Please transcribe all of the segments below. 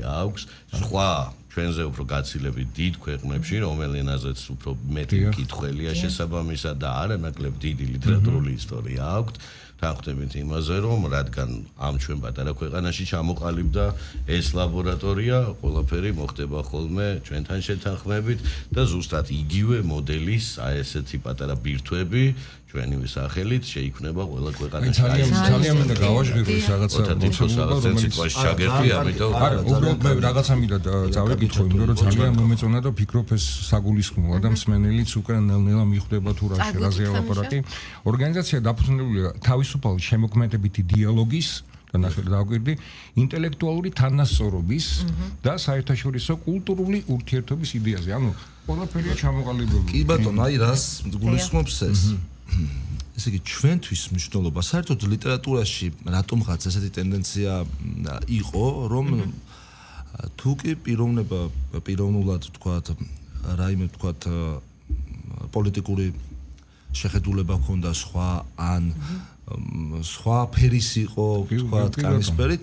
აქვს სხვა ჩვენზე უფრო გაცილებით დიდ ქვეყნებში, რომელ ენაზეც უფრო მეტი მკითხველია შესაბამისად და არანაკლებ დიდი ლიტერატურული ისტორია აქვს. თანხმდებით იმაზე, რომ რადგან ამ ჩვენ პატარა ქვეყანაში ჩამოყალიბდა ეს ლაბორატორია, ყველაფერი მოხდება ხოლმე ჩვენთან შეთანხმებით და ზუსტად იგივე მოდელის აი ესეთი პატარა ბირთვები ჩვენივე სახელით შეიქმნება ყველა ქვეყანაში. ძალიან მინდა გავაჟღერო ეს რაღაცა სიტყვაში ჩაგერთი, ამიტომ არა, უბრალოდ მე რაღაცა მინდა წავეკითხო, იმიტომ რომ ძალიან მომეწონა და ფიქრობ ეს საგულისხმოა და მსმენელიც უკვე ნელ-ნელა მიხვდება თუ რაზეა ლაპარაკი. ორგანიზაცია დაფუძნებულია თავისუფალი შემოქმედებითი დიალოგის და ნახეთ დავგვირდი ინტელექტუალური თანასწორობის და საერთაშორისო კულტურული ურთიერთობის იდეაზე. ანუ ყველაფერია ჩამოყალიბებული. კი ბატონო, აი რას გულისხმობს ეს? ესე იგი ჩვენთვის მნიშვნელობა საერთოდ ლიტერატურაში რატომღაც ესეთი ტენდენცია იყო, რომ თუ კი პიროვნულად თქვათ რაიმე თქვათ პოლიტიკური შეხედულება ჰქონდა სხვა ან სხვა ფერის იყო თქვათ კანისფერით,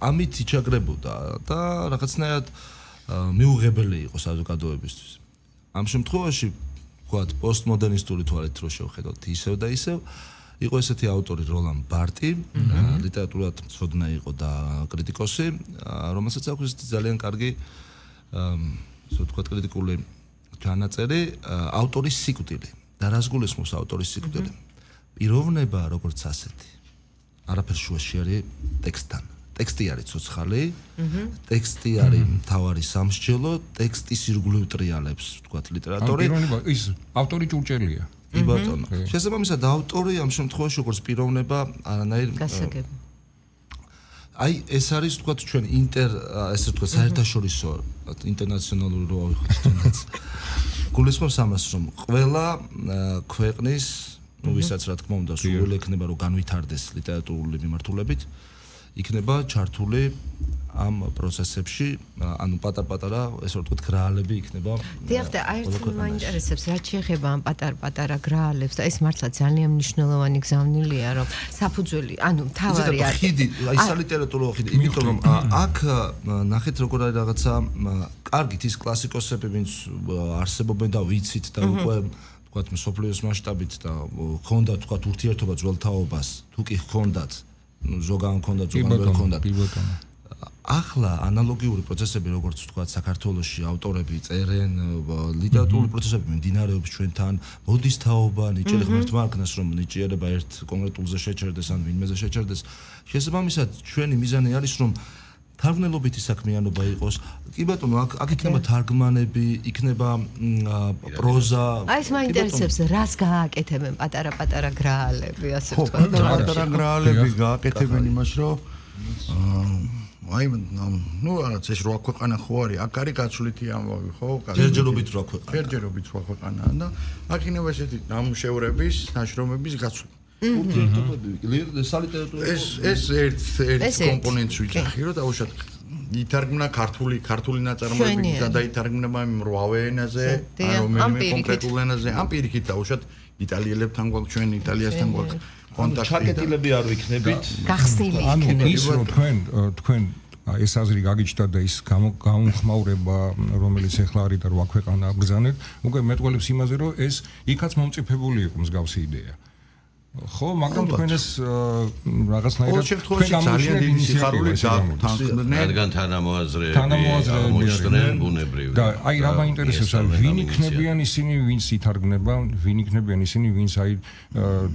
ამით იჩაგრებოდა და რაღაცნაირად მიუღებელი იყო საზოგადოებისთვის. ამ შემთხვევაში თქვათ პოსტმოდერნისტული თვალით რო შევხედოთ ისევ და ისევ იყო ესეთი ავტორი როლან ბარტი, ლიტერატურად მცოდნე იყო და კრიტიკოსი, რომელსაც აქვს ძალიან კარგი ასე ვთქვათ კრიტიკული ჩანაწერი ავტორის სიკვდილი. და რას გულისხმობს ავტორის სიკვდილი? პიროვნება როგორც ასეთი. არაფერს შუაში არის ტექსტთან. ტექსტი არის ცოცხალი, ტექსტი არის მთავარი სამსჯელო, ტექსტის ირგვლივ ტრიალებს, ვთქვათ, ლიტერატორი. ის ავტორი ჭურჭელია. კი ბატონო. შესაბამისად ავტორი ამ შემთხვევაში როგორც პიროვნება არანაირ გასაგები. აი ეს არის ვთქვათ ჩვენ ესე ვთქვათ საერთაშორისო ინტერნაციონალური რო ავიხოთ. გულისხმობს ამას, რომ ყველა ქვეყნის, ვისაც რა თქმა უნდა სურვილი ექნება რომ განვითარდეს ლიტერატურული მიმართულებით, იქნება ჩართული ამ პროცესებში, ანუ პატარ-პატარა, ესე ვთქვათ, გრაალები იქნება. დიახ, და აერთი მაინტერესებს, რაც შეეხება ამ პატარ-პატარა გრაალებს და ეს მართლა ძალიან მნიშვნელოვანი გზავნილია, რომ საფუძველი, ანუ მთავარი არის. ხიდი, აი სალიტერატურო ხიდი, იმიტომ რომ აქ ნახეთ როგორ არის რაღაცა კარგით ის კლასიკოსები, ვინც არსებობენ და ვიცით და უკვე ვთქვათ, მსოფლიოს მასშტაბით და ჰქონდა ვთქვათ ურთიერთობა ძველ თაობას, თუ კი ჰქონდათ ზოგან ჰქონდა ზოგან ვერ ჰქონდათ. ახლა ანალოგიური პროცესები როგორც ვთქვათ საქართველოში ავტორები წერენ ლიტერატურული პროცესები მიმდინარეობს ჩვენთან მოდის თაობა ნიჭიერი ღმერთმა აქნას რომ ნიჭიერება ერთ კონკრეტულზე შეჩერდეს ან ვინმეზე შეჩერდეს შესაბამისად ჩვენი მიზანი არის რომ თარგმნელობითი საქმიანობა იყოს კი ბატონო აქ იქნება თარგმანები იქნება პროზა აი ეს მაინტერესებს რას გააკეთებენ პატარა გრაალები ასე ვთქვათ პატარა გრაალები გააკეთებენ იმას რომ აი ნუ რაღაც ეს რა ქვეყანა ხო არის აქ არის გაცვლითი ამბავი ხო ჯერჯერობით რა ქვეყანა და აქ იქნება ესეთი ნამუშევრების ნაშრომების გაცვლა ეს ერთ კომპონენტს ვიძახი რომ დაუშვათ ითარგმნა ქართული ნაწარმოები და დაითარგმნება მრავალ ენაზე ან რომელიმე კონკრეტულ ენაზე ამ პირიქით დაუშვათ იტალიელებთან გვაქვს ჩვენ იტალიასთან გვაქვს კონტაქტი ჩაკეტილები არ ვიქნებით გახსნილი იქნება ის რომ თქვენ ეს აზრი გაგიჩნდა და ის გამომხმაურება რომელიც ახლა არის და რა ქვეყანა აბრძანეთ უკვე მეტყველებს იმაზე რომ ეს იქაც მომწიფებული იყო მსგავსი იდეა ხო მაგრამ თქვენ ეს რაღაცნაირად თქვენ ძალიან დიდი სიხარული დათანხმდნენ რადგან თანამოაზრეები მოსწრენ ბუნებრივი და აი რა მაინტერესებს ვინ იქნებიან ისინი ვინც ითარგმნება ვინ იქნებიან ისინი ვინც აი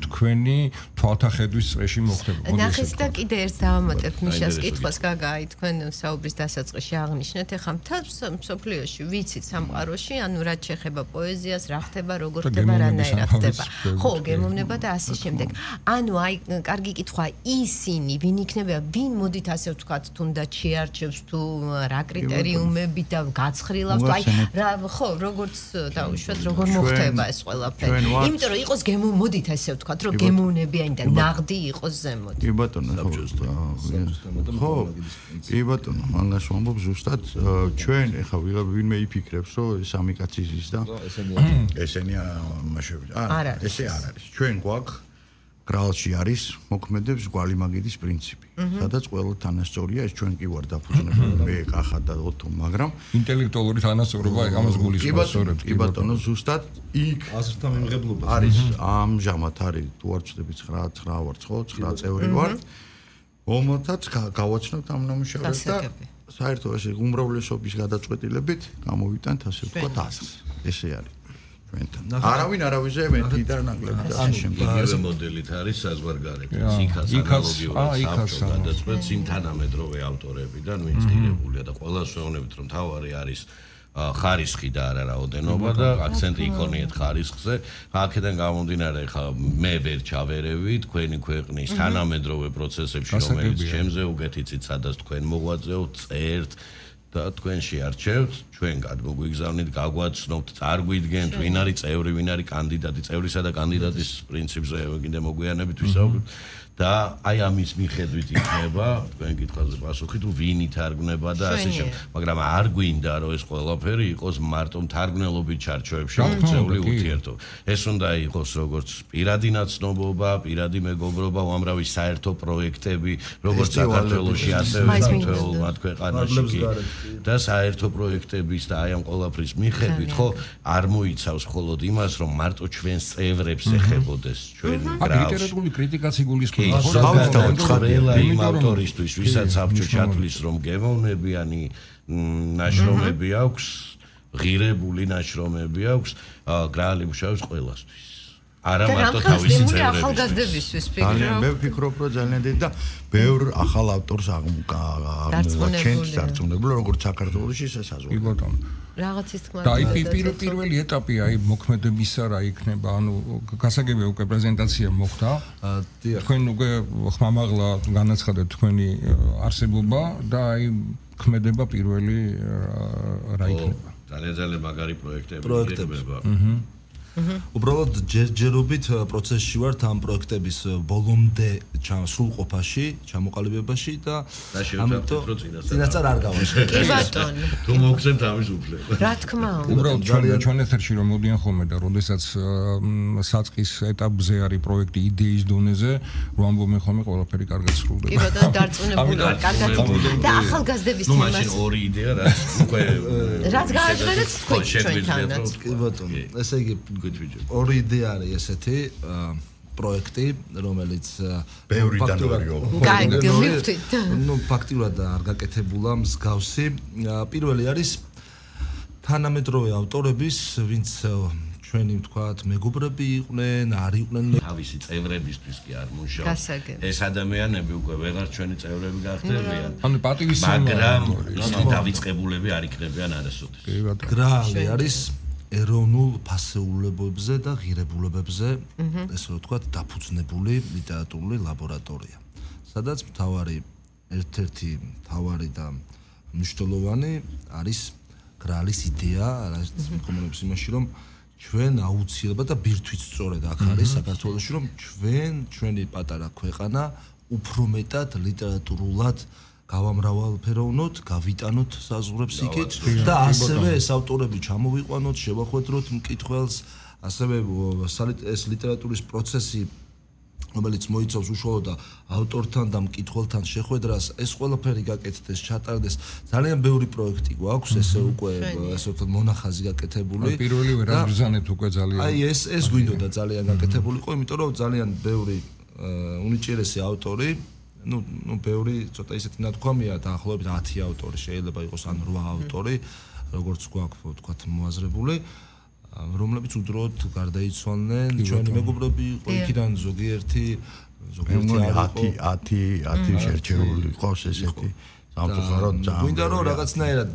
თქვენი თვალთახედვის წრეში მოხდება ნახეთ და კიდე ერთ დავამატებ მიშას კითხვას გაგაი თქვენ საუბრის დასაწყისში აღნიშნეთ ეხლა მთელ მსოფლიოში ვიცით სამყაროში ანუ რაც შეეხება პოეზიას რა ხდება როგორ ხდება რანაირად ხდება ხო გემოვნება და ასე შემდეგ. ანუ აი კარგი კითხვა ისინი ვინ იქნება ვინ მოდით ასე ვთქვათ თუნდაც შეარჩევს თუ რა კრიტერიუმები და გაცხრილავს აი რა ხო როგორც დაუშვათ როგორ მოხდება ეს ყველაფერი. იმიტომ რომ იყოს მოდით ასე ვთქვათ რომ გემოვნებიანი და ნაღდი იყოს ზემოთ. კი ბატონო ხო კი ბატონო მანას ვამბობ ზუსტად ჩვენ ეხა ვინმე იფიქრებს რომ სამი კაცი ზის და ესენი არა ესე არ არის ჩვენ გვაქვს გრალში არის მოქმედებს გვალი მაგიდის პრინციპი. სადაც ყველა თანასწორია, ეს ჩვენ კი ვარ დაფუძნებული, მე კახა და ოთო, მაგრამ ინტელექტუალური თანასწორობა ამას გულისხმობს. კი ბატონო, ზუსტად იქ აზრთა მიმღებლობა არის ამჟამად არის თუ არ ვწდები 9 ვართ ხო 9 წევრი ვართ რომელთაც გავაცნობთ ამ ნამუშევრებს და საერთოდ ესე უმრავლესობის გადაწყვეტილებით გამოვიტანთ ასე ვთქვათ ასს ესე არის ჩვენთან არავინ არავიზე მეტი და ნაკლები და ასე შემდეგ იგივე მოდელით არის საზღვარგარეთ იქაც ანალოგიურად გადაწყვეტს იმ თანამედროვე ავტორებიდან ვინც ღირებულია და ყველას ვეუბნებით რომ თავარი არის ხარისხი და არა რაოდენობა და აქცენტი იქონიეთ ხარისხზე. აქედან გამომდინარე ხა მე ვერ ჩავერევი თქვენი ქვეყნის თანამედროვე პროცესებში რომელიც ჩემზე უგეთიცით სადაც თქვენ მოღვაწეობთ, წერთ და თქვენ შეარჩევთ, ჩვენ გადმოგვიგზავნით, გაგვაცნობთ, წარგვიდგენთ, ვინ არის წევრი, ვინ არის კანდიდატი, წევრისა და კანდიდატის პრინციპზე კიდე მოგვიანებით ვისაუბრებთ. და აი ამის მიხედვით იქნება თქვენ კითხვაზე პასუხი თუ ვინ ითარგმნება და ასე შემდეგ. მაგრამ არ გვინდა რომ ეს ყველაფერი იყოს მარტო მთარგმნელობით ჩარჩოებში მოქცეული ურთიერთობა. ეს უნდა იყოს როგორც პირადი ნაცნობობა, პირადი მეგობრობა, უამრავი საერთო პროექტები, როგორც საქართველოში ასევე მთელ მათ ქვეყანაში და საერთო პროექტების და აი ამ ყველაფრის მიხედვით ხო არ მოიცავს მხოლოდ იმას რომ მარტო ჩვენს წევრებს ეხებოდეს ჩვენი გრაუს. ლიტერატურული კრიტიკაც იგულისხმობს ყველა იმ ავტორისთვის, ვისაც საბჭო ჩათვლის, რომ გემოვნებიანი ნაშრომები აქვს, ღირებული ნაშრომები აქვს, გრალი მუშაობს ყველასთვის. არა მარტო თავისი წევრებისთვის. ახალგაზრდებისთვის ძალიან მე ვფიქრობ, რომ ძალიან დიდი და ბევრ ახალ ავტორს აღმოჩენს დარწმუნებული, როგორც საქართველოში შესაძლოა. კი ბატონო. რაღაცის თქმა და აი პირველი ეტაპი აი მოქმედებისა რა იქნება, ანუ გასაგებია უკვე პრეზენტაცია მოხდა. თქვენ უკვე ხმამაღლა განაცხადეთ თქვენი არსებობა და აი ქმედება პირველი რა იქნება. ძალიან მაგარი პროექტები იქნება. უბრალოდ ჯერჯერობით პროცესში ვართ ამ პროექტების ბოლომდე სრულყოფაში, ჩამოყალიბებაში და ამიტომ წინასწარ არ გავაშკარებ. კი ბატონო. თუ მოგცემთ ამის უფლება. რა თქმა უნდა. უბრალოდ ჩვენ ეთერში რომ მოდიან ხოლმე და როდესაც საწყის ეტაპზე არის პროექტი იდეის დონეზე, რომ ამბობენ ხოლმე ყველაფერი კარგად სრულდება. კი ბატონო, დარწმუნებული ვარ, კარგად და ახალგაზრდების თემას. ნუ მაშინ ორი იდეა რაც უკვე რაც გააჩნდათ ჩვენთანაც. კი ბატონო, ესე იგი ორი იდეა არის ესეთი პროექტი, რომელიც ფაქტიურად არ გაკეთებულა მსგავსი. პირველი არის თანამედროვე ავტორების, ვინც ჩვენი ვთქვათ, მეგობრები იყვნენ, არ იყვნენ თავისი წევრებისთვის კი არ მუშაობს. ეს ადამიანები უკვე ვეღარ ჩვენი წევრები გახდებიან. ანუ პატივისცემა, მაგრამ დავიწყებულები არ იქნებიან არასოდეს. გრალი არის ეროვნულ ფასეულებებზე და ღირებულებებზე, ესე რომ ვთქვათ, დაფუძნებული ლიტერატურული ლაბორატორია. სადაც ერთ-ერთი მთავარი და მნიშვნელოვანი არის გრალის იდეა, რაც მოგონებს იმაში, რომ ჩვენ აუცილებლად და ბირთვით სწორედ აქ არის საქართველოში, რომ ჩვენი პატარა ქვეყანა უფრო მეტად ლიტერატურულად გავამრავალფეროვნოთ, გავიტანოთ საზღვრებს იქით და ასევე ეს ავტორები ჩამოვიყვანოთ, შევახვედროთ მკითხველს, ასევე ეს ლიტერატურის პროცესი, რომელიც მოიცავს უშუალოდ ავტორთან და მკითხველთან შეხვედრას, ეს ყველაფერი გაკეთდეს, ჩატარდეს. ძალიან ბევრი პროექტი გვაქვს, ესე უკვე ასე ვთქვათ, მონახაზი გაკეთებული. პირველივე რა ბრძანეთ უკვე ძალიან. აი ეს გვინდოდა ძალიან გაკეთებულიყო, იმიტომ რომ ძალიან ბევრი უნიჭიერესი ავტორი ну ბევრი ცოტა ისეთი ნათქვამია დაახლოებით 10 ავტორი შეიძლება იყოს ან 8 ავტორი როგორც გვაქვს ვთქვათ მოაზრებული რომლებიც უდროოდ გარდაიცვალნენ ჩვენი მეგობრები იყო იქიდან ზოგიერთი 10 შერჩეული ყავს ესეთი სამწუხაროდ გვინდა რომ რაღაცნაირად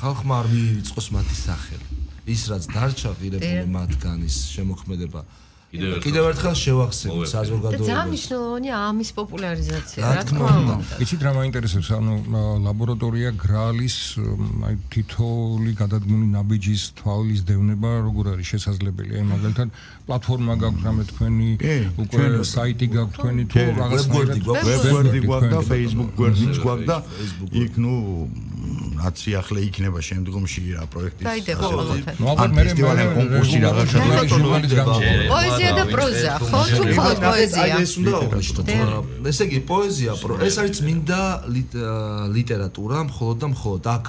ხალხმა არ მიიღოს მათი სახელი ის რაც დარჩა ღირებული მათგანის შემოქმედება კიდევ ერთხელ შევახსენოთ საზოგადოებას. ძალიან მნიშვნელოვანია ამის პოპულარიზაცია, რა თქმა უნდა. იცით რა მაინტერესებს, ანუ ლაბორატორია გრალის აი თითოეული გადადგმული ნაბიჯის თვალის დევნება როგორ არის შესაძლებელი? აი მაგალითად პლატფორმა გაქვთ რამე თქვენი უკვე საიტი გაქვთ თქვენი თუ რაღაცნაირად ვებგვერდი გვაქვს და Facebook გვერდიც გვაქვს და იქ ნუ რაც ახლა იქნება შემდგომში რა პროექტის დაიდება ყველაფერი. ნუ ალბათ მე კონკურსი რაღაცა პოეზია და პროზა, ხო თუ მხოლოდ პოეზია? ეს უნდა აღნიშნოთ. ესე იგი პოეზია, ეს არის წმინდა ლიტერატურა, მხოლოდ და მხოლოდ აქ